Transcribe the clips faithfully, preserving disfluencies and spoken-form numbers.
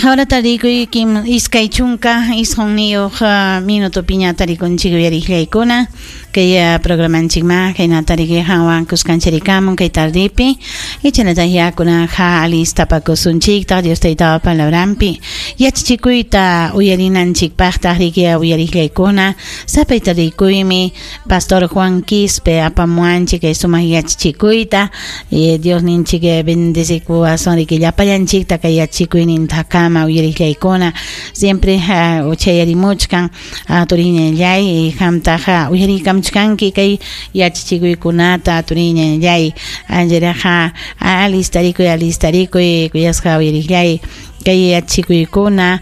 Pichqa hora tarikuy kim iskay chunka isqunniyuq minutopiña tarikunchik uyariqllaykuna kay programanchikma kayna tariki hanwan kuskanchirikamun kay tardipi ichanata yakunaqa alistapakusunchiktaq Dios taytapa palabranpi yachachikuyta uyarinanchikpaqtaq riki uyariqllaykuna sapay tarikuymi Pastor Juan Quispe apamuanchik kay sumaq yachachikuyta Dios ninchik bendecikuwasun riki llapallanchikta kay yachachikuynintakama uyariqllaykuna siempre uchayarimuchkan turiñallay qamtaqa uyarikamchkanki kay yachachikuykunata turiñallay ancharaqa alistarikuy alistarikuy kuyasqa uyariqllay kay yachachikuykuna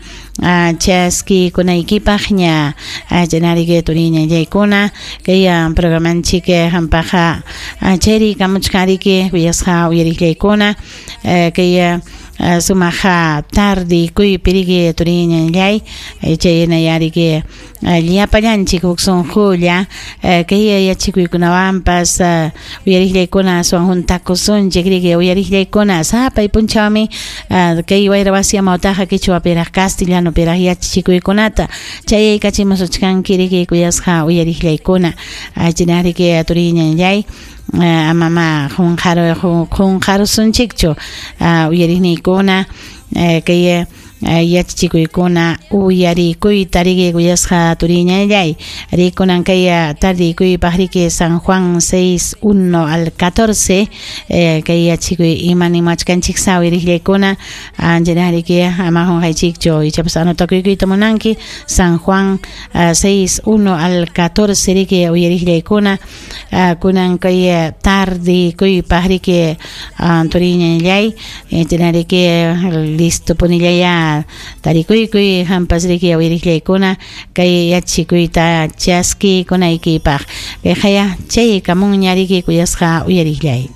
chaskikunaykipaqña chanariki turiñallaykuna kay programanchik hampaqa chayrikamuchkanriki kuyasqa uyariqllaykuna kay sumaqa tardikuypi riki turiñallay chaynayariki llapallanchik huk sunqulla kay yachachikuykunawanpas uyariqllaykuna aswan juntakusunchik riki uyariqllaykuna sapay punchawmi kay wayra wasi amawtaqa qichwapiraq castellanopiraq yachachikuykunata chayaykachimusuchkanki riki kuyasqa uyariqllaykuna chinariki turiñallay amama qunqaru qunqarusunchikchu uyariqniykuna kay yachachikuykuna uyarikuyta riki kuyasqa turiñallay rikunan kay tardikuypaq riki San Juan seis uno al catorce kay yachachikuy ima nimachkanchik sa uyariqllaykuna anchana riki ama qunqaychikchu ichapas anotakuykuyta munanki San Juan seis uno al catorce riki uyariqllaykuna kunan kay tardikuypaq riki turiñallay chayna riki listo punillaya tarikuykuy hampas riki uyariqllaykuna kay yachachikuyta chaskikunaykipaq kayqaya chaykamunña riki kuyasqa uyariqllay.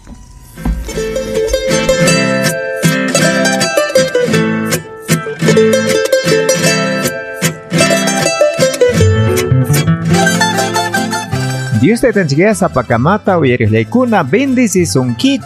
Dios te tenga sapakamata uyariqllaykuna bendecisunkichik.